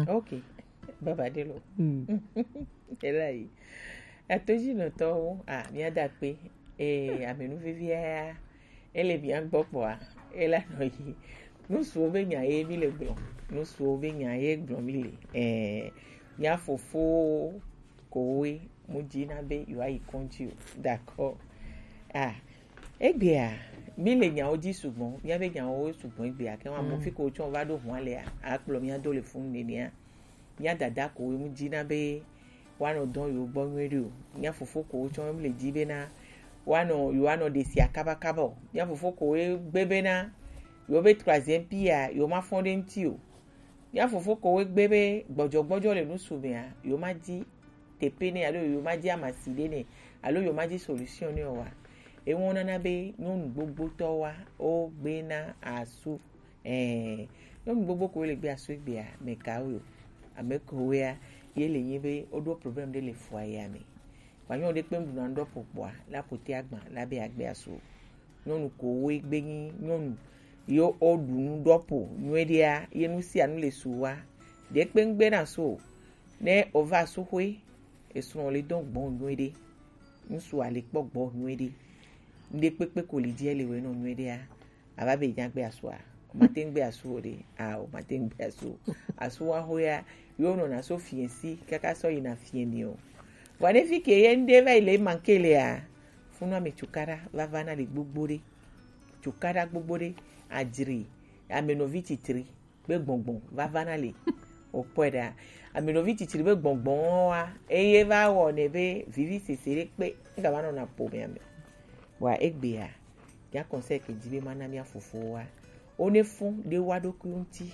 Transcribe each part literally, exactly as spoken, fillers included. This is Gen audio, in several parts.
Ok, baba de lo. Mm. Ela yi. Atojinɔtɔwo, a, mía da kpe. Ee, amenu vevia ya, ele mía gbɔ kpɔa, ela nɔ yi. Nusuwo be nya ye mi le gblɔ. Nusuwo be nya ye gblɔ mi le. Ee, mía fofo kowoe mu dzi na be yewoayi kɔdzi o. D'accord. Ah, egbea, mi le nyawo dzi sugbɔ, mía be nyawo sugbɔ egbea, ke wa mo fi ko tsɔ va ɖo hua lea, akplɔ mía do le funu nenea. Mía dada kowoe mu dzi na be woanɔ dɔn yewo gbɔ nyuie ɖe o. Mía fofo kowo tsɔ mi le dzi bena woanɔ, yewoanɔ ɖe sia kabakaba o. Mía fofo kowoe gbe bena yewo be troisième pierre-a, yewo ma fɔn ɖe ŋuti o. Mía fofo kowoe gbe be gbɔdzɔgbɔdzɔ le nusu mea, yewo ma di tepe nɛ alo yewo ma di amasi ɖe nɛ alo yewo ma di solution nɛ o wa. Ewo nana be nyɔnu gbogbotɔwoa, wo gbe na asu. Ɛɛ, nyɔnu gbogbo kowoe le gbe asu egbea, mɛ kawoe o. Ame kowoea, ye le nyi be woɖo problème ɖe le foyer-a me. Vɔ nyɔnu ɖe kpe ŋɖu na ŋɖɔ po kpɔa, la ƒote agba, la be agbe asu. Nyɔnu kowoe gbe nyi nyɔnu yo o ɖu nu ɖɔ po nyuie ɖea, ye nu sia nu le su wa. Ɖe kpe ŋgbe na so o. Ne o va su xwe, esrɔ̃ le dɔn gbɔn nyuie ɖe. Ŋsu a le kpɔ gbɔ nyuie ɖe. Ŋɖe kpekpe ko li dzi ele wɛ nɔ nyuie ɖea. Ava be nya gbe asua. O ma te ŋgbe asu o ɖe. A, o ma te ŋgbe asu o. Asu wa xwe ya, yo nɔ na so fiɛ si, kaka sɔ yi na fiɛ ni o. Vɔ ne fi ke ye ŋɖe va yi le manke lea, funu ame cukaɖa va va na le gbogbo ɖe. Cukaɖa gbogbo ɖe, adzri, amenɔvi titri be gbɔngbɔn vava na le. O kpɔe ɖa. Amenɔvi titri be gbɔngbɔn wa, eye va wɔ ne be vivi sese ɖe kpe, ŋga va nɔ na po mea me. Wa egbea, ya conseil ke dzi be ma na mía fofowoa, wo ne fɔn ɖe wa ɖokui ŋuti.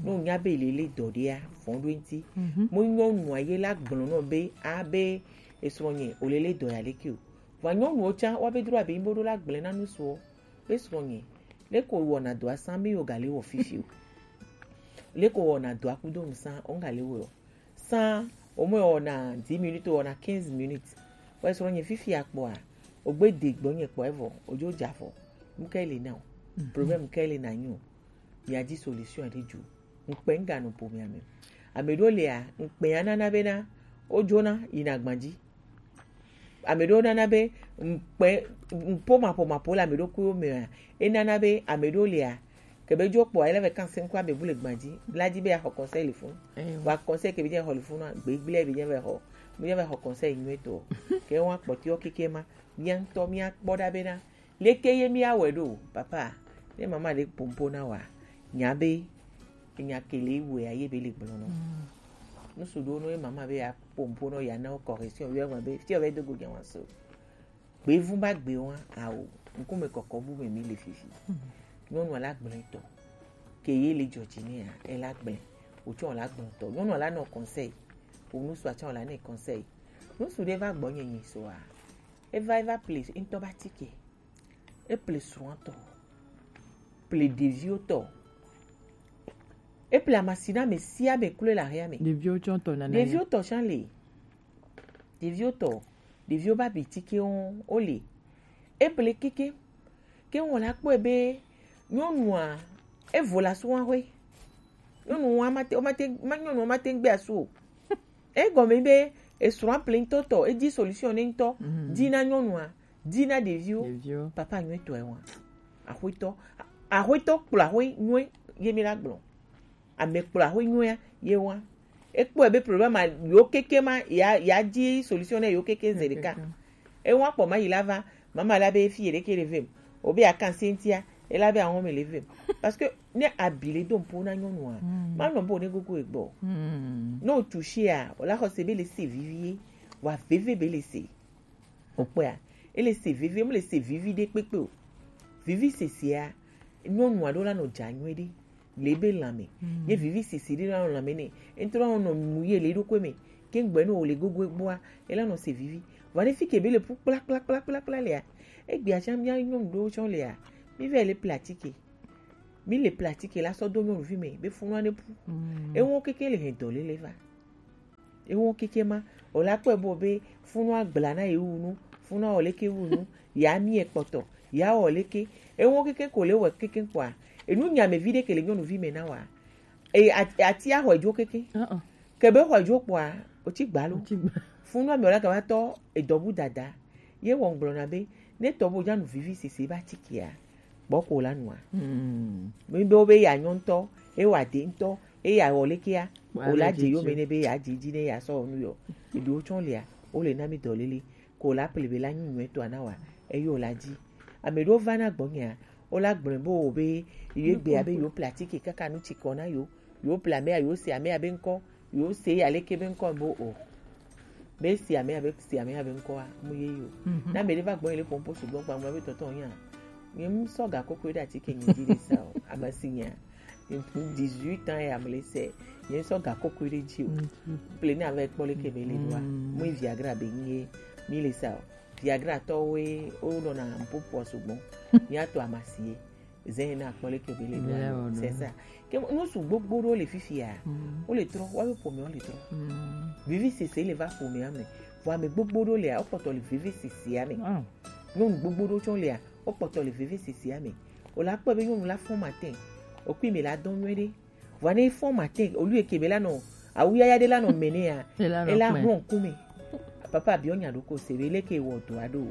Ne o nya be lele dɔ ɖea, fɔn ɖo ŋuti. Mhm. Mo nyɔnua ye la gblɔ nɔ be, a be esrɔ̃ nye, o lele dɔ ya leke o. Vɔ nyɔnuwo tsã, wa be dro abe yin bo ɖo la gblẽ na nusuɔ. Be srɔ̃nye, leko wɔna dɔa sã mi yo gale wɔ fifi o. Leko wɔna dɔa kudo nu sã, o gale wɔ. Sã, o me wɔna dix minutes, wɔna quinze minutes. Wa srɔ̃nye fifi akpɔa, o gbe de gbɔnye kpɔ evɔ, o jo ja vɔ. Nuke le na o. Mhm. Problème ke le na nyo. Mia di solution ɖe jo. Ŋkpɛ ŋga nɔ ƒomea me. Ame ɖewo lia, ŋkpɛ ya nana bena, wo jona yina gbaji. Ame ɖewo nana be ŋkpɛ, ŋpo maƒo maƒo le ame ɖokuiwo mea, enana be ame ɖewo lia, ke be dzo kpɔa, ele be kan se ŋkua be bu le gbaji, la di be axɔ conseil le funu. Eyo. Wa conseil ke be dze xɔ le funu, gbegblẽ be dze be xɔ, be dze be xɔ conseil nyuie tɔ. Ke wa kpɔtiɔ keke ma, mia ŋutɔ mia kpɔ ɖa bena, leke ye mia wɛ ɖo, papa, ne mama ɖe pompo na wa, nya be, enya ke le wea ye be le gblɔ nɔ. Mm. Nusu ɖewo nɔ ye mama be ya pompo nɔ ya na wo correction, yɔ ma be, fi ɔ be do go nya wa so. Gbevu ba gbe wa, awo, ŋkume kɔkɔ bu me mi le fifi. Mm. Nyɔnu la gblẽ tɔ. Ke ye le dzɔdzi ne ya, e la gblẽ. O tsɔ la gblẽ tɔ. Nyɔnu la nɔ conseil. O nusu a tsɔ la ne conseil. Nusu ɖe va gbɔ nye nyi so a. Eva, eva ple ŋutɔ ba tike. Eple srɔ̃a tɔ. Ple ɖeviwo tɔ. Eple amasina ame sia ame kloe le ahia me. Ɖeviwo tsɔ tɔ nana. Ɖeviwo tɔ tsã le. Ɖeviwo tɔ. Ɖeviwo ba bi tike wo, wo le. Eple keke. Ke ŋwɔ la kpɔe be nyɔnua, evo la sua hoe. Nyɔnu wa ma te, ma te, ma nyɔnu ma te ŋgbe asu o. Egɔme be esrɔ̃a ple ŋutɔ tɔ, edi solution ne ŋutɔ, mhm, di na nyɔnua, di na ɖeviwo. Ɖeviwo. Papa nyuie tɔe wa. Axwetɔ, axwetɔ kplɔ axwe nyuie ye mi la gblɔ. Ame kplɔ axwe nyuie ye wa. Ekpɔe be problème a yo keke ma ya, ya di solution ne yo keke ze ɖeka. Keke. Ewa kpɔ ma yi la va, mama la be fi ye ɖeke le vem. O be akan sentia, e la be awon me le vem. Parce que ne abi le do ŋpo na nyɔnua, mm, ma nɔ bo ne gogo egbɔ. Mm. Ne o tu shia, o la xɔ se be le se vivi ye, wa veve be le se. O kpɔa, e le se vivi, e me le se vivi ɖe kpekpe o. Vivi sesea, nyɔnu aɖewo la nɔ dza nyuie ɖe le ebe lãme. Mm. Ye vivi sese ɖe la nɔ lãme nɛ. Ŋutɔ la nɔ nu ye le eɖokui me. Ke ŋgbe ne wòle gogo egbɔa, ela nɔ se vivi. Vɔ ɖe fi ke be le ƒu kpla, kpla, kpla, kpla, kpla lea, egbea tsã mía nyɔnu ɖewo tsã lea, mi vɛ le pla atike. Mi le pla atike la sɔ do nyɔnuvi me, be funua ne ƒu. Mm. Ewo keke le hɛn dɔ lele va. Ewo keke ma, o la kpɔe bo be funua gbla na ye wu nu, funua wɔ leke wu nu, ya mi ekpɔtɔ, ya wɔ leke. Ewo keke ko le wɔ keke kpɔa, enu nya me vi ɖe ke le nyɔnuvi me na wa. Eye at- ati axɔe dzo keke. Uh-uh. Ke be xɔe dzo kpɔa, wotsi gba lo. Wotsi gba. Funu ame wòle gava tɔ edɔ bu dada. Ye wɔ ŋgblɔna be, ne tɔ bo nya nu vivi sese ba tsi kia, gbɔ ko la nua. Mm. Mi be wo be ya nyɔ ŋutɔ, e wa de ŋutɔ, e ya wɔ lekea, Wa o la le dze yo dzedze. Me ne be ya dze dzi ne ya sɔ nu yɔ. Eɖewo tsɔ lia, wo le na mi dɔ lele. Ko la ple be la nyi nyuie tɔ ana wa, eyo la dzi. Ame ɖewo va na gbɔnyea, wo la gblɔe be wo be, ye gbe abe yo platike kaka nu tsi kɔ na yo, yo ple ame ya, yo se ame ya be ŋkɔ, yo se ya leke be ŋkɔ be o. Be se ame ya be, se ame ya be ŋkɔa, mu ye yo. Mhm. Na ame ɖe va gbɔnye le pompo sugbɔ gba, mu be tɔtɔ nya. Nye mu sɔ ga koko ɖe atike nye dzi ɖe sa o, ame si nya. Dix-huit ans ya me le se, nye sɔ ga koko ɖe dzi o. Mhm. Ple ne ave kpɔ leke be le doa, Mm. Mu Viagra be nye, mi le sa o. Viagra tɔwoe, wo nɔna mpopua sugbɔ. Mia tɔ amasie. Zɛn na kpɔ leke be le Bele doa. Wɔ do. C'est ça. Ke nu su gbogbo ɖewo le fifia. Mm. Wo le trɔ, wa be ƒome wo le trɔ. Mm. Vivi sese le va ƒomea me. Vɔ ame gbogbo ɖewo lea, wo kpɔtɔ le vivi sesea me. Ah. Nyɔnu gbogbo ɖewo tsɔ lea, wo kpɔtɔ le vivi sesea me. O la kpɔ be nyɔnu la fɔ matin. O kui me la dɔn nyuie ɖe. Vɔ ne fɔ matin, o lui ke be la nɔ, awu yaya ɖe la nɔ me ne ya. E la nɔ E la kpɛ. Hlɔn kume. Papa biɔ nya ɖo ko se be leke wɔ do aɖo.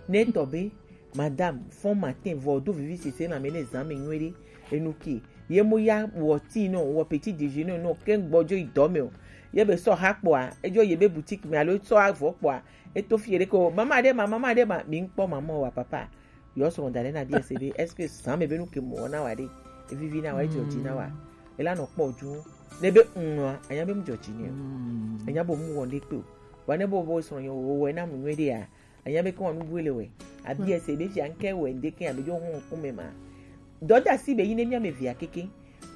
Ne tɔ be, madame, fɔ matin, vɔ do vivi sese na me ne zan me nyuie ɖe. Enu ke. Ye mo ya wɔ ti nɔ, wɔ petit déjeuner nɔ, ke gbɔ dzo yi dɔ me o. Ye be sɔ ha kpɔa, edzo ye be boutique me alo sɔ avɔ kpɔa, eto fi ɖe ko, mama ɖe ma, mama ɖe ma, mi ŋkpɔ mama wa papa. Yɔ srɔ̃ da ɖe na biɛ se be, est-ce que zan me be nu ke mo na wa ɖe? Evivi na wa, edzɔ dzi na wa. Ela nɔ kpɔ ju. Ne be ŋua, anya be mu dzɔ dzi ne o. Anya bo mu wɔ ne kpe o. Wa ne bo bo srɔ̃ nyo wo wɔ na mu nyuie ɖe ya. Anya be ke wa nu bu le wɛ. Abi ese be fia ŋke wɛ ŋde ke abe jo hɔn kume ma. Dɔ da si be yi ne mia me via keke.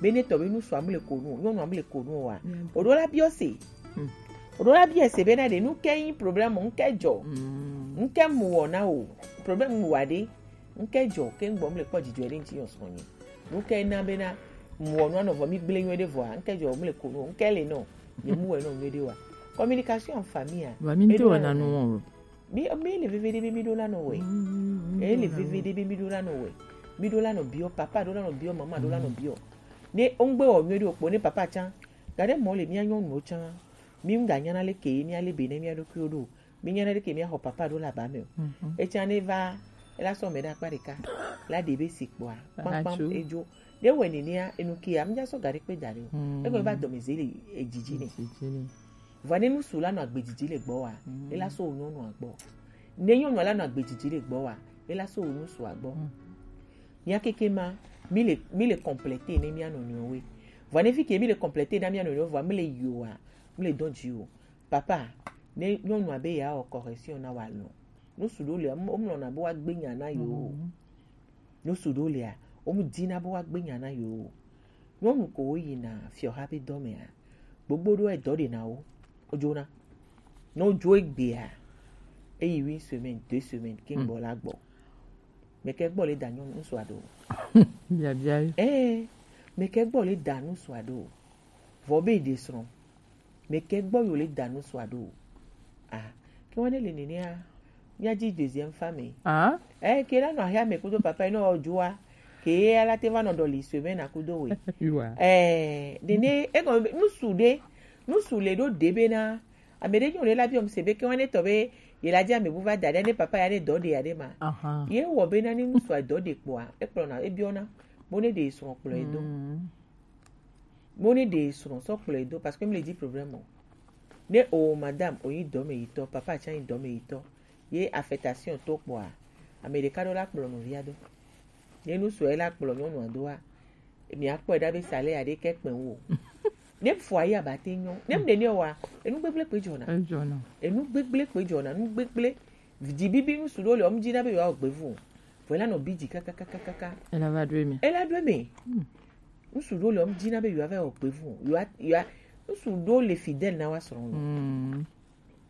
Be ne tɔ be nu sɔ amle ko nu, nyɔnu amle ko nu wa. O ɖo la biɔ se. O ɖo la biɔ se be na ɖe nu ke yi problème ŋke dzɔ. Ŋke mu wɔ na o. Problème mu wa ɖe. Ŋke dzɔ ke ŋgbɔ mle kpɔ dzidzɔ ɖe ŋti yɔ srɔ̃ nyi. Nu ke na be na mu wɔ nu anɔ vɔ mi gble nyuie ɖe vɔa. Ŋke dzɔ mle ko nu. Ŋke le nɔ. Nye mu wɛ nɔ nyuie ɖe wa. Communication en famille a. Wa mi ŋte wɔ na nu wɔ. Mi, mi le veve ɖe be mi ɖo la nɔ wɛ. E le veve ɖe be mi ɖo la nɔ wɛ. Mi ɖo la nɔ biɔ, papa ɖo la nɔ biɔ, mama ɖo la nɔ biɔ. Ne o ŋgbe wɔ nyuie ɖe o kpɔ ne papa tsã. Ga ɖe mɔ le mia nyɔnuwo tsã. Mi ŋga nyana le ke mia le be ne mia ɖokuiwo ɖo. Mi nyana le ke mia xɔ papa ɖo la ba me o. Etsã ne va, ela sɔ me ɖe akpa ɖeka. La ɖe be si kpɔa. Kpakpam edzo. Ne wɛ nenea, enu kia, mi dza sɔ ga ɖe kpe da ɖe o. Egbe va dɔme ze le edzidzi ne. Vɔa ne nusu la nɔ agbedzidzi le gbɔ wa, ela so wo nyɔnua gbɔ. Ne nyɔnua la nɔ agbedzidzi le gbɔ wa, ela so wo nusua gbɔ. Mía keke ma, mi le, mi le compléter ne mía nɔnɔewo. Vɔa ne fi ke mi le compléter na mía nɔnɔewo vɔa, mi le yi o wa, mi le dɔn dzi o. Papa, ne nyɔnua be ya wɔ correction na wa lɔ. Nusu ɖewo le, wo mlɔna be woagbe nya na yewo. Nusu ɖewo lea, wo mu dina be woagbe nya na yewo. Nyɔnu ko wo yina fiɔha be dɔ mea, gbogbo ɖewo edɔ ɖe na wo. Wodzona. Ne wodzo egbea, eyi une semaine, deux semaines, ke ŋgbɔ la gbɔ. Meke gbɔ le da nyɔnu ŋsua ɖo. Biabia yi. Ɛɛ, meke gbɔ le da ŋsua ɖo. Vɔ be ɖe srɔ̃. Meke gbɔ yo le da ŋsua ɖo. Ah, ke wane le nenea, mía dzi deuxième femme. Ah? Eh, ke la nɔ ahia me kudo papa, nɔ dzoa. Ke ala te va nɔ dɔ li semaine kudo we. Eh, nene, e gɔme be, nusu ɖe, nusu le ɖo ɖe be na, ame ɖe nyɔ le la biɔ mi se be ke wane tɔ be, ye la dzi ame bu va da ɖe ne papa ya ne dɔ ɖe ya ɖe ma. Aha. Ye wɔ be na ni nusua dɔ ɖe kpɔa, e kplɔ na, e biɔ na, bo ne ɖe srɔ̃ kplɔ e do. Mo ne ɖe srɔ̃ sɔ kplɔe do parce que mi le dzi problème o. Ne o madame o yi dɔme yitɔ, papa tsã yi dɔme yitɔ, ye affectation to kpɔa, ame ɖeka ɖo la kplɔ nɔvia do. Ne nu sɔe la kplɔ nyɔnua doa, mi akpɔe ɖa be salaire aɖe ke kpɛ wo. Ne foyer aba te nyɔ, ne mi ɖe ne wa, enu gbegble kpe dzɔna. Edzɔna. Enu gbegble kpe dzɔna, nu gbegble. Dzi bibi nusu ɖewo le, wo mu dzina be yewoawɔ gbevu o. Vɔ ela nɔ bi dzi kakakakaka. Ela va ɖo eme. Ela ɖo eme. Hmm. Nusu ɖewo le, wo mu dzina be yewoava wɔ gbevu o. Yewoa, yewoa, nusu ɖewo le fidèle na woa srɔ̃wo. Hmm.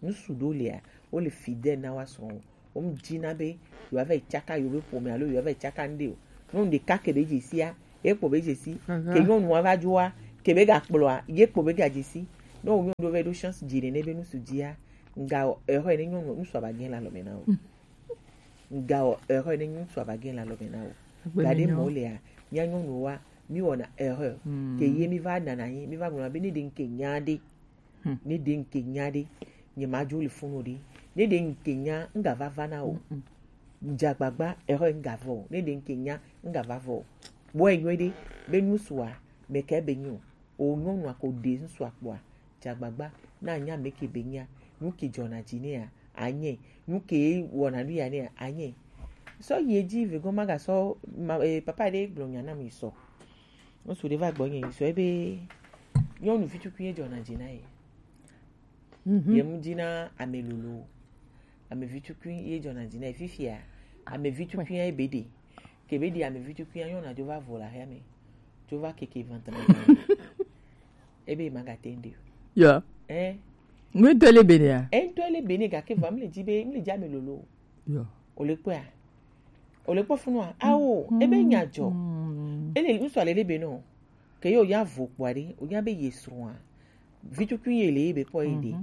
Nusu ɖewo lea, wo le fidèle na woa srɔ̃wo. Wo mu dzina be yewoava yi tsaka yewo be ƒome alo yewoava yi tsaka ŋɖe o. Nyɔnu ɖeka ke be dze sia, ye kpo be dze si. Aha. Ke nyɔnua va dzoa, ke be gakplɔa, ye kpo be gadze si. Ne wo nyɔnu ɖewo va ɖo chance dzi nene be nusu dzia, Nga wɔ erreur ne nyɔnu ŋutsu ava gɛn le alɔme na o. Nga wɔ erreur ne ŋutsu ava gɛn le alɔme na o. Egbe me nyɔ. Gaɖe mɔ lea, mía nyɔnuwoa, Mi wɔna erreur. Ke ye mi va nana anyi, mi va gblɔna be ne ɖe ŋke nya ɖe. Ne ɖe ŋke nya ɖe, nye ma dzo le funu ɖe. Ne ɖe ŋke nya, ŋga va va na o. Dzagbagba erreur ŋga vɔ o. Ne ɖe ŋke nya, ŋga va vɔ o. Bɔ enyɔ ɖe be nusua me ke be nyo. O nyɔnua ko ɖe ŋsua kpɔa, dzagbagba na nya me ke be nya. Nu ke dzɔna dzi nea, anye. Nu ke wɔna nu ya nea, anye. Sɔ yi edzi vegɔn magasɔ ma, eh, papa ɖe gblɔ nya na mi sɔ. Ŋutsu ɖe va gbɔnye yi sɔ ebe nyɔnuvi tukui ye dzɔna dzi na ye. Ye mu dzi na ame lolo. Ame vi tukui ye dzɔna dzi na ye fifia. Ame vi tukui ye be ɖe. Ke be ɖe ame vi tukui ya nyɔna dzo va vo la hia me. Dzo va keke vantana. Ebe magate nde. Ya. Eh. Ŋutɔ le bene ya. Eh, ŋutɔ le bene gake va mle dzi be mle dzi ame lolo. Ya. O le kpɔa. O le kpɔ funua. Awo, ebe nya dzɔ. Ele ŋutsu ale le be no. Ke yo ya vo kpɔa ɖe, o ya be ye srɔ̃a. Vi tukui ye le ye be kpɔ ye ɖe.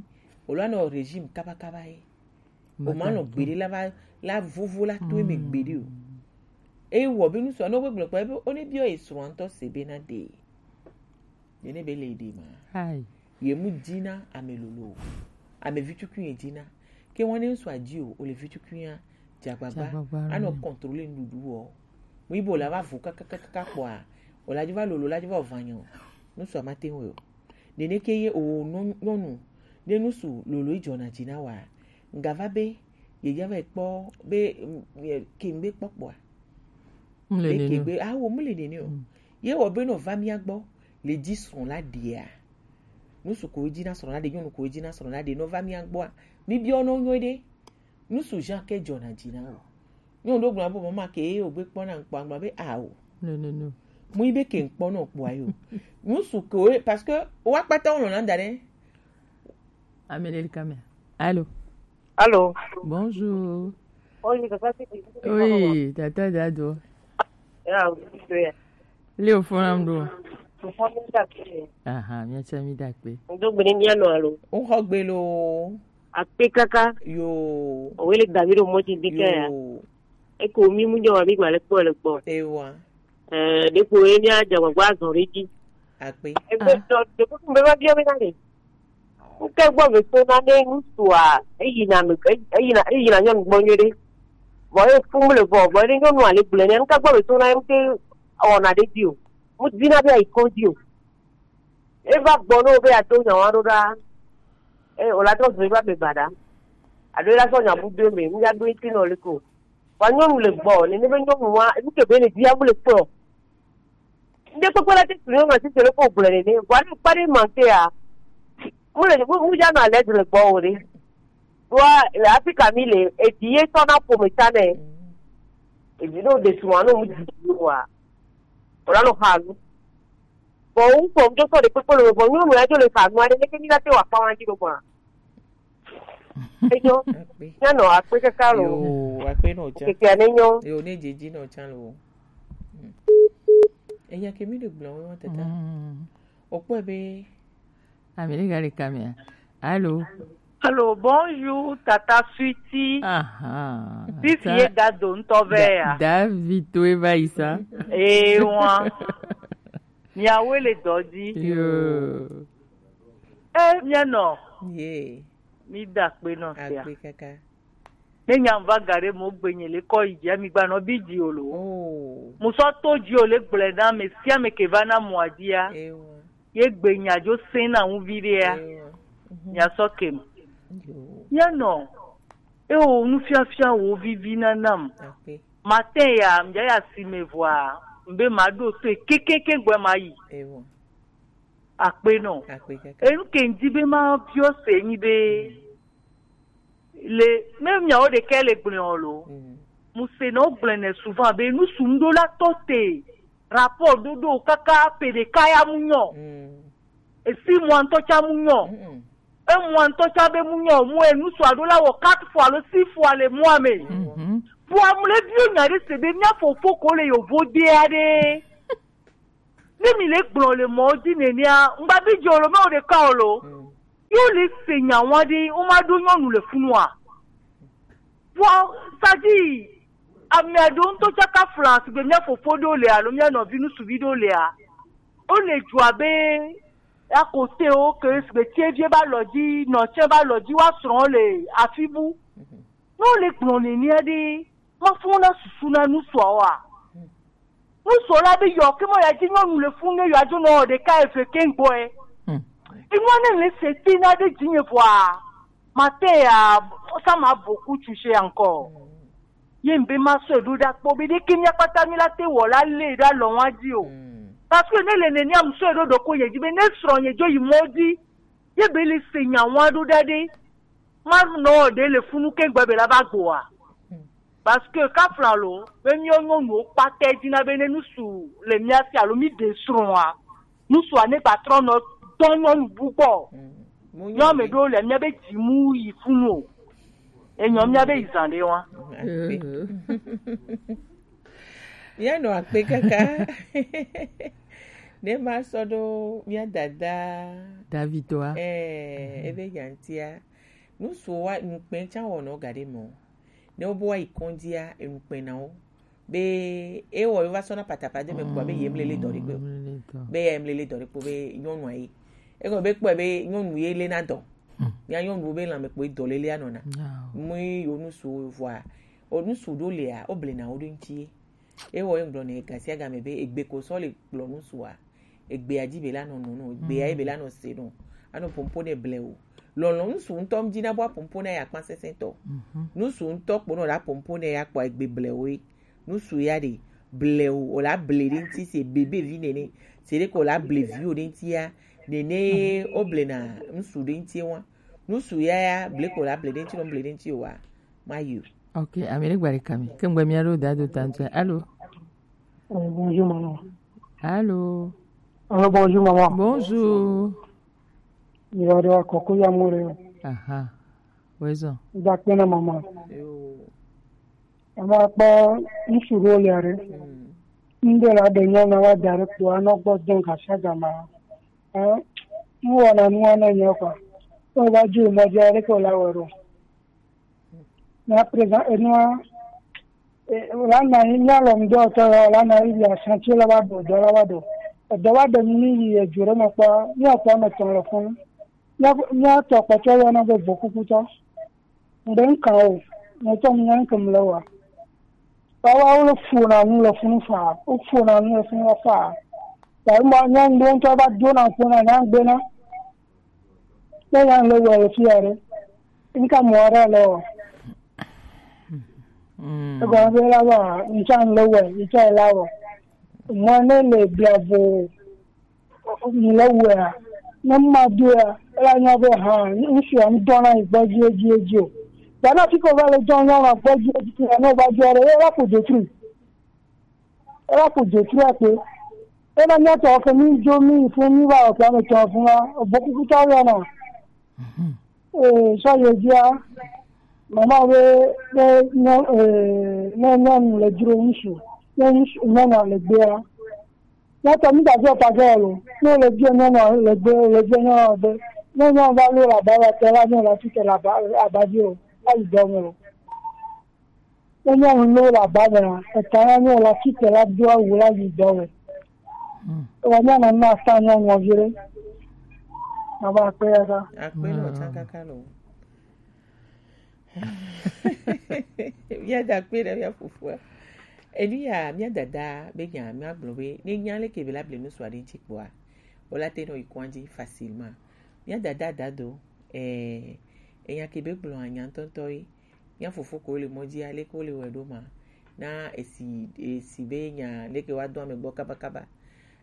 O la nɔ régime kaba kaba ye. O ma nɔ gbeɖe la va la vovo la to eme gbeɖe o. Eye wɔ be ŋutsu anɔ gbegblẽ kpɔ ebe o ne biɔ ye srɔ̃a ŋutɔ se be na ɖe. Ye ne be le ɖe ma. Ye mu dina ame lolo o. Ame vi tukui ye dina. Ke wane ŋutsu adzi o, o le vi tukui ya dzagbagba. Anɔ contrôler nuɖuɖu o. Mu ibo la va vo kakakaka kpɔa, o la dzi va lolo la dzi va o va nyɔ. Ŋutsu a ma te ŋu o. Nene ke ye o nyɔnu, ne ŋutsu lolo yi dzɔna dzi na wa. Ŋga va be ye dza va kpɔ be ke ŋgbe kpɔkpɔa. Be ke gbe awo mu le nene o. Ye wɔ be nɔ va mía gbɔ le dzi srɔ̃ la ɖia. Ŋutsu ko dzi na srɔ̃ la ɖe, nyɔnu ko dzi na srɔ̃ la ɖe nɔ va mía gbɔa. Mi biɔ nɔ nyɔ ɖe. Ŋutsu Jean ke dzɔna dzi na o. Nyɔnu ɖo gblɔ be mama ke ye o gbe kpɔna ŋkpɔ agblɔ be awo. No, no, no. Mu yi be ke ŋkpɔ nɔ kpɔa yo. Ŋutsu ko parce que wa kpata wo lɔna da ɖe. Ameleli kamea. Allô. Allô. Bonjour. Bonjour, papa, c'est qui? Oui, tata Dado. Ya, oui, c'est. Leo fona mdo. Fona mdo. Aha, mia cha mi dakpe. Ndo gbene mia no alo. O ho gbe lo. Akpe kaka. Yo. O wele David o moti dike ya. Yo. E ko mi mu jo mi gba le po le po. Ewa. Eh, de ko e mia ja gba gba zo re ji. Akpe. E be to de ko be ba bi o be na ni. Ŋke gbɔ be to na ne ŋutsua, eyina me, eyina, eyina nyɔnu gbɔ nyuie ɖe. Vɔ ye fum le vɔ, vɔ ye nyɔnua le gblẽ nɛ, ŋke gbɔ be to na ye ŋke wɔna ɖe dzi o. Mu dina be ayi kɔdzi o. Eva gbɔ ne wo be yeado nya wa ɖo ɖa. E, o la trɔ zɔ eva be baɖa. Alo ela sɔ nya bu do me, ŋya do ŋuti nɔ le ko. Wa nyɔnu le gbɔ, nene be nyɔnu wa, enu ke be le bia mu le kplɔ. Ŋde kpekpe la te tu nyɔnu asi se le ko gblẽ nene. Wa ne kpa ɖe ma ke ya. Mu le, mu, mu ya nɔ alɛ le gbɔ o ɖe. Wa le Afrika mi le, edi ye sɔ na ƒome ta nɛ. Edi no de suma no mu di wa. O la no ha nu. Bɔn ŋutɔ ŋutɔ sɔ ɖe kpekpe le me, bɔn nyɔnu ya dzo le ha nua ɖe, leke mi na te wa kpa wa dzi ɖo gbɔna. Enyo. Akpe. Nyɔnu akpe kaka lo. Yo, akpe no cha. Keke ne nyo. Yo, ne dzidzi no cha lo. Hmm. Eya ke mi ɖe gblɔ wo tata. Mm. O kpɔe be. Amérique le kamea. Allô. Allô, bonjour, tata Suiti. Aha. Sisi ye Dado ŋutɔ vɛ ya. David to eva isa. Eh, wa. Miawoe le dɔ dzi. Yo. Eh, mianɔ. Ye. Mi da akpe nɔ sia. Akpe kaka. Ne nya va ga ɖe mo gbe nye le kɔ yi dzi, mi gba nɔ bi dzi o lo. Oh. Mo sɔ to dzi o le gblẽ na me sia me ke va na mɔ adia. Ewa. Ye gbe nya dzo se na ŋu vi ɖe ya. Ewa. Mhm. Nya sɔ ke me. Yo. Mianɔ. Eo, nufiafia wo vivi na nam. Akpe. Matin ya, mja ya si me vɔa, mbe ma ɖo to kekeke gbɛ ma yi. Ewo. Akpe nɔ. Akpe kaka. Enu ke ŋdi be ma biɔ se nyi be, mm, le, me miawo ɖekɛ le gblẽ o lo. Mm. Mu se nɔ gblẽ nɛ souvent be nu sum ɖo la tɔ te. Rapport ɖoɖo kaka pe ɖeka ya mu nyɔ. Mm. Esi mua ŋutɔ tsa mu nyɔ. Mm-mm. Emua ŋutɔ tsa be mu nyɔ, mu enu sɔ aɖo la wɔ quatre fois alo six fois le mua me. Mhm. Vɔa mu le biɔ nya ɖe se be mia fofo ko le yovo de aɖe. Ne mi le gblɔ le mɔ dzi nenea, ŋgba bi dze o lo, me o ɖeka o lo. Mm. Yo le se nya wa ɖe, wo ma ɖo nyɔnu le funua. Vɔa, c'est-à-dire, Ame aɖewo ŋutɔ tsaka fla sigbe mía fofo ɖewo le alo mía nɔvi ŋutsuvi ɖewo lea, wole dzoa be akotewo ke sigbe tievie ba lɔ dzi, nɔtsɛ ba lɔ dzi, woasrɔ̃ le afi bu. Ne wole gblɔ nenea ɖe, mafɔ na susu na ŋutsuawoa? Ŋutsu la be yɔ ke mɔ ya dzi nyɔnu le funu ne yɔ adzo nɔ ɖeka eve ke ŋgbɔe. Enua ne le se ti na ɖe dzinye vɔa, mate ya, ça m'a beaucoup touché encore. Ye mbe ma sɔe ɖo ɖa kpɔ be ɖeke mía kpata mi la te wɔ la le ɖa lɔ wa dzi o. Parce que ne le nenia mu sɔe ɖo ɖoko ye dzi be ne srɔ̃ ye dzo yi mɔ dzi, ye be le se nya wa ɖo ɖa ɖe. Ma nɔ ɖe le funu ke gbe be la va gboa. Parce que kafla lo be míawo nyɔnuwo kpata dzi na be ne ŋutsu le mía si alo mí ɖe srɔ̃a, ŋutsua ne gba trɔ nɔ dɔ nyɔnu bu gbɔ. Nyɔ me ɖo le mía be dzimu yi funu o. Enyɔ mía be yi zan ɖe wa. Míanɔ akpe kaka. Ne ma sɔ ɖo mía dada Davitoa. Eh, ebe yantia. Ŋutsuwo wa nukpɛ tsa wɔnɔ ga ɖe mɔ. Ne wobe woayi kɔndzia, enukpɛ na wo. Be ewɔ yo va sɔ na patapade me kpɔ be ye mlele dɔ ɖe kpe o. Be ye mlele dɔ ɖe kpe o, be nyɔnua ye. Egɔme be kpɔe be nyɔnu ye le na dɔ. Mía nyɔnuwo be lãme kpoe dɔ lele anɔna. Mui yo nusu vɔa. O nusu ɖo lea, o blena wo ɖo ŋuti ye. Ewɔ ye ŋgblɔ ne gasiagame be egbe ko sɔ le kplɔ nusua. Egbea dzi be la nɔ nɔ nɔ, egbea ye be la nɔ se nɔ. Anɔ pompo ne ble o. Lɔlɔ nusu ŋutɔ ŋdzi na bɔ apompo na ya kpa sɛsɛ tɔ. Nusu ŋutɔ kpo nɔ la pompo ne ya kpɔ egbe ble o ye. Nusu ya ɖe ble o, o la ble ɖe ŋuti se bebe vi nene. Se ɖe ko la ble vi o ɖe ŋuti ya. Nene o blena nusu ɖe ŋuti wa. Nusu ya ya ble ko la ble ɖe ŋuti nɔ ble ɖe ŋuti o wa. Ma yi o. Ok, ame ɖe gba ɖeka mi. Ke ŋgbe mía ɖo da do ta ŋutɔ. Allô? Euh, bonjour maman. Allô? Allô, bonjour maman. Bonjour. Il va de la coco ya mure. Aha. Wezɔ. Da kpena maman. Ama kpɔ ŋutsu ɖewo le aɖe. Ŋɖe la ɖe nyɔnu wa da ɖe kpo anɔ gbɔ dɔn gasiagama. Ɛ, ŋwɔna nua ne nyɔ kɔ. Wo va dzi mɔ dzi aɖe ko la wɔ ɖo. Na présent enua e, la na yi mía lɔ ŋdɔ tɔ la na yi ya santi la va ɖo dɔ la va ɖo. Edɔ va ɖe mi yi edzo ɖe me kpɔ mía kpɔ me tɔn le fun. Mía mía tɔ kpɔtɔ yɔ na be vokukutɔ. Ŋɖe ŋkan o, ŋutɔ mi nya ŋkem le wa. Wawa wo le fu na nu le funu fa, wo fu na nu le funu fa. Ta ma nya ŋɖe ŋutɔ va do na fu na nya ŋgbe na. Ne nya le wɔ le fi aɖe. Ŋka mɔ aɖe le wɔ. Egɔme be la wa ŋka le wɔ, ŋka la wɔ. Mɔ ne le bia vo mi le wɔa. Ne ma doa, ela nya be ha, ŋsia ŋdɔ na yi gbɔ dzi dzi dzi o. Dana fi ko va le dɔ nya na gbɔ dzi dzi ne va dzi aɖe, ela ko detruit. Ela ko detruit akpe. Ena míatɔ ke mí dzo mí fún mí va ɔkpa me tɔ fún wa, ebo kuku tɔ yɔ na. Ee, sɔ yɔ dzia, mama be be nyɔ ee ne nyɔnu le dzro ŋsu, ne ŋsu nyɔnu le gbea. Míatɔ mí dazɔ pa ge lo, ne le dzro nyɔnu le gbe, le dzro nyɔnu be, ne nyɔnu va lo la ba la te la nyɔnu la tite la ba, la ba dzi o, la yi dɔ me o. Ne míawo nuwo le aba mea, eta na míawo la tite la do awu la yi dɔ me. Ewa míana na ata nyɔnua vi ɖe. Ava akpe ya ta. Akpe le wòtsa kaka lo. Míada akpe ɖe mía fofoa. Enu ya mía dada be nya míagblɔ be ne nya leke be la ble nu sua ɖe ŋuti kpɔa, wòla te nɔ yi kɔn dzi facilement. Mía dada dado, eh, enya ke be gblɔ anya ŋutɔŋutɔ ye. Mía fofo ko le mɔ dzi aleke wole wɔe ɖo ma. Na esi esi be nya leke woado ame gbɔ kabakaba.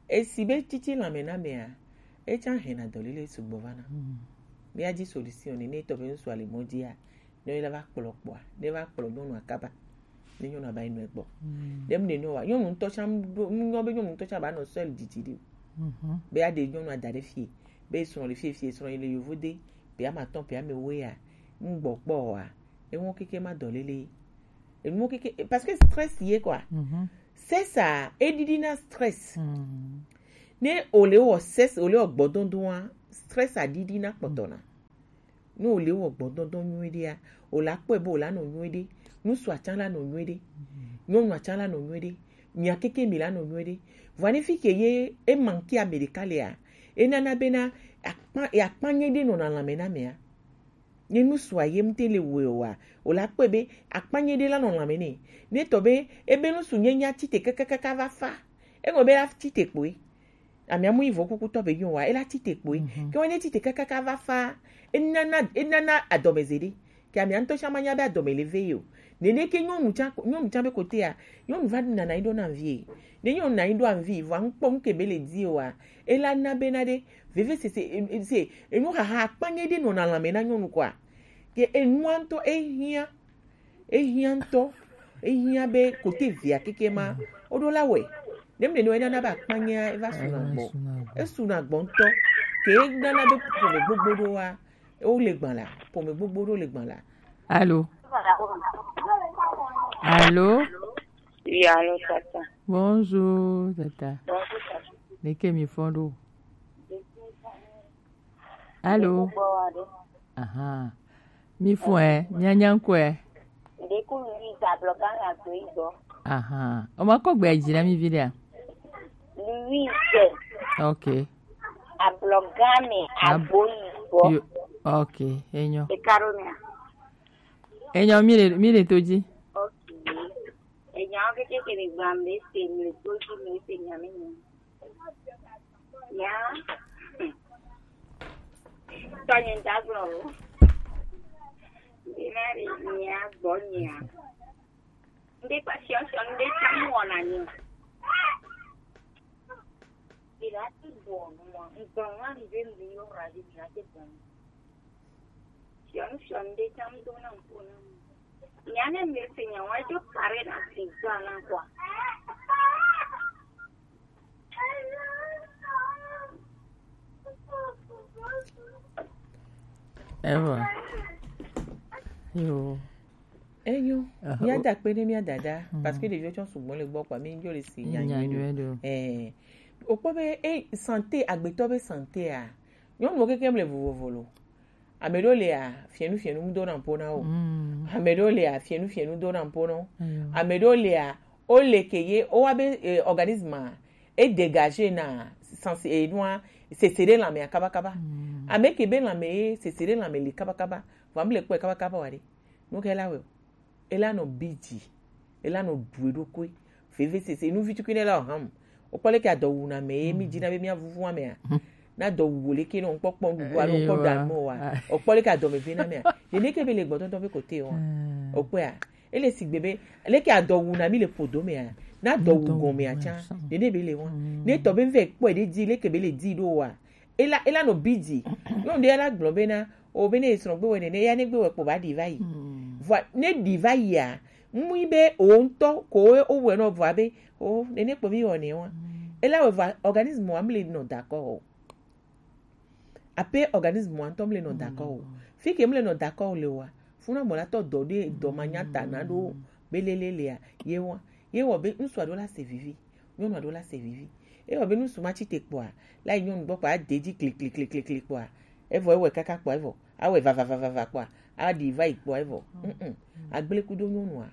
Esi be tsitsi lãme na mea, etsã hɛna dɔlele sugbɔ vana. Mía dzi solution ne etɔ be ŋutsua le mɔ dzia, ne la va kplɔ kpɔa, ne va kplɔ nyɔnua kaba. Ne nyɔnua ba yi nɔe gbɔ. Ɖem ne nɔ wa, nyɔnu ŋutɔ tsã ɖo, nyɔ be nyɔnu ŋutɔ tsã ba nɔ seul didi ɖe o. Be aɖe nyɔnua da ɖe fie, be srɔ̃ le fie fie, srɔ̃ yi le yovo de, be ame atɔ̃, be ame ewoea, ŋgbɔ kpɔ oa, enuwo keke ma dɔlele. Enuwo keke, parce que stress ye quoi. Stress a, eɖiɖi na stress. Ne ole wɔ stress, ole wɔ gbɔdɔdɔa, stress a ɖiɖi na kpɔtɔ na. Ne ole wɔ gbɔdɔdɔ nyuie ɖea, ola kpɔe be ola nɔ nyuie ɖe. Ŋutsua tsã la nɔ nyuie ɖe. Nyɔnua tsã la nɔ nyuie ɖe. Mia keke mi la nɔ nyuie ɖe. Vɔa ne fi ke ye e manquer ame ɖeka lea, e nana bena akpa, e akpanye ɖe nɔna lãme na amea. Ne ŋutsua ye ŋute le wɔe oa, o la kpɔe be akpanye ɖe la nɔ lãme nɛ. Ne tɔ be ebe ŋutsu nye nya tite kakakaka va fa. Eŋɔ be la tite kpoe. Amea mu yi vɔ kukutɔ be nyo wa, e la tite kpoe. Mhm. Ke wa ne tite kakaka va fa, e nana, e nana adɔmeze ɖe. Ke amea ŋutɔ tsã ma nya be adɔme le ve ye o. Nene ke nyɔnu tsã, nyɔnu tsã be kotea, nyɔnu va nana yi ɖo na vie. Ne nyɔnu na yi ɖo anvi, vɔa ŋkpɔ ŋke be le di oa, e la na bena ɖe, veve sese, e, e, se, enu xaxa akpanye ɖe nɔna lãme na nyɔnu kɔa. Ke enua ŋutɔ e hiã, e hiã ŋutɔ, e hiã be kote via keke ma, o ɖo la wɔe. Ne mle no e nana be akpanyea, e va suna gbɔ. E suna gbɔ ŋutɔ. Ke e nana be ƒome gbogbo ɖo wa, o le gbã la, ƒome gbogbo ɖo le gbã la. Allô? Allô? Oui, allô, tata. Bonjour, tata. Bonjour, tata. Leke mi fɔn ɖo? Allô? Aha. Mi fɔn ɛ, mi nya ŋkɔe. Ɖeku Louise ablɔga le agbo yi gbɔ. Aha. O ma kɔ gbe dzi na mi vi ɖea? Louise. Ok. Ablɔga me agbo yi gbɔ. Ok, enyo. Eka ɖo mea? Enyo, mi le, mi le to dzi. Ok. Enyawo keke ke mi gblɔm ɖe se, mi le to dzi, mi se nya mi nyi. Nya. Tɔnye ŋdagblɔ o. Bena ɖe nya gbɔ nya. Ŋɖe kpa siɔsiɔ, ŋɖe tsã mu wɔna nyi o. Bena ti bɔ nu mɔ, ŋgblɔ nu ani be mi yɔ ra ɖe bena ti bɔ nu. Fiɔnu, fiɔnu ɖe tsã ŋdo na ŋku na mu. Nya ne mi se nya wa jo kare na si gba na kwa. Ewa. Yo. Enyo. Aha, mía o- da kpe ɖe mía dada, mhm, parce que ɖeviwo tsɔ sugbɔ le gbɔ kpa, mi nyo le si nya nyuie ɖo. Nya nyuie ɖo. Eh. O kpɔ be, eh, santé, agbetɔ be santé a. Nyɔnuwo keke mle vovovo lo. Ame ɖewo lia, fienu fienu ŋdo na ƒo na wo. Mm. Ame ɖewo lia, fienu fienu do na ƒo na wo. Eyo. Ame ɖewo lia, o le ke ye, o wa be, eh, organisme a, e dégager na sensi, eh, nua, sese ɖe lãmea kabakaba. Mm. Ame ke be lãme ye, sese ɖe lãme li kabakaba. Vɔ mi le kpɔe kabakaba wa ɖe. Nu ke la wɛ o. E la nɔ bi dzi, e la nɔ ɖu eɖokui. Vevesese, nu vitukui ɖe la o ham. O kpɔ leke adɔ wu na mɛ ye, mi dzi na be mía vuvu amea. Na dɔ wu wo leke nɔ ŋkpɔkpɔ nuɖuɖu alo ŋkpɔ ɖa mɔ wa. O kpɔ leke adɔ me ve na mea. Nene ke be le gbɔdɔdɔ be kote wa. O kpɔe a. Ele sigbe be leke adɔ wu na mi le podo mea. Na dɔ wu gɔmea tsã. Nene be le wa. Ne tɔ be vɛ kpɔe ɖe dzi leke be le dzi ɖo wa. Ela, ela nɔ bi dzi. Nyɔnu ɖe la gblɔ bena, o be ne esrɔ̃ gbe wɛ nene, ya ne gbe wɛ kpo ba ɖi va yi. Mm. Vɔa, ne ɖi va yia, mui be o ŋutɔ ko o wɛ nɔ vɔa be, o nene kpo mi wɔ ne wa. Mm. Ela wɛ vɔa, organisme wa mle nɔ d'accord o. Ape organisme wa ŋutɔ mle nɔ d'accord o. Mm. Fi ke mle nɔ d'accord o le wa, funa mɔ la tɔ dɔ ɖe dɔ ma nya ta na ɖo be lele lea, ye wa. Ye wɔ be ŋutsu aɖewo la se vivi. Nyɔnu aɖewo la se vivi. Ewɔ be ŋutsu ma tsi te kpɔa, la yi nyɔnu gbɔ kpɔa, ade dzi kliklikliklikli kpɔa, evɔ ewɔe kaka kpɔa, evɔ awɔe vavavavava kpɔa, aɖi va yi kpɔa, evɔ. Mm-mm. Agble kudo nyɔnua.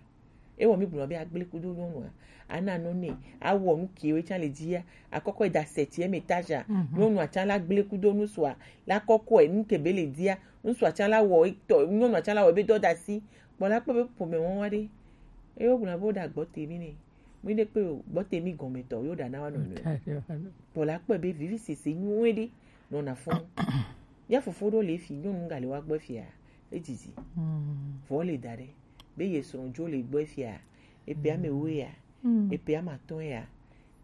Ewɔ mi gblɔ be agble kudo nyɔnua. Ana nɔ nɛ, awɔ nu kiwo tsã le dzia, akɔkɔ yi da seti eme taja. Mhm. Nyɔnua tsã la gble kudo ŋutsua, la kɔkɔe nu ke be le dzia, ŋutsua tsã la wɔ etɔ, nyɔnua tsã la wɔ ebe dɔ da si. Kpɔ la kpɔ be ƒome wɔn wa ɖe. Eyo gblɔ be wo da gbɔ te mi nɛ. Mi ɖe kpe o, gbɔ te mi gɔme tɔ, yo ɖa na wa nɔ nɔ. Kpɔ la kpɔe be vivi sese nyuie ɖe nɔna fɔn. Mía fofo ɖewo le fi, nyɔnu ga le wa gbɔ fia, edzidzi. Mm. Vɔ le da ɖe, be ye srɔ̃ dzo le gbɔ fia, epe ame wo ya, epe ame atɔ̃ ya.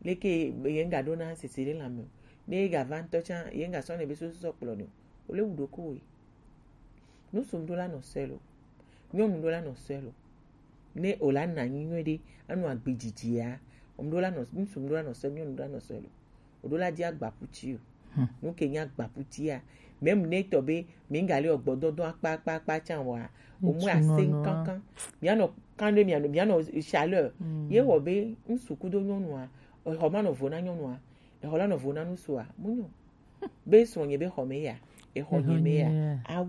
Leke ye ŋga ɖo na sese ɖe lãme o. Ne ye ga va ŋutɔ tsã, ye ŋga sɔ ne be soso sɔ kplɔ ne o. Wo le wu ɖokuiwo. Ŋutsu ɖo la nɔ seul o. Nyɔnu ɖo la nɔ seul o. Ne o la na anyi nyuie ɖe, anu agbe dzidzia, ŋɖo la nɔ, ŋutsu ŋɖo la nɔ seul, nyɔnu ɖo la nɔ seul o. O ɖo la di agbaputi o. Hmm. Nu ke nye agbaputia, même ne tɔ be mi ŋga le gbɔdɔdɔ akpa akpa akpa tsã wa, o mu ase kankan. Mia nɔ kan ɖe mia nɔ, mia nɔ chaleur. Hmm. Ye wɔ be ŋutsu kudo nyɔnua, exɔ ma nɔ vo na nyɔnua, exɔ la nɔ vo na ŋutsua, mu nyɔ. Be srɔ̃nye be xɔme ya, exɔ nye me ya, a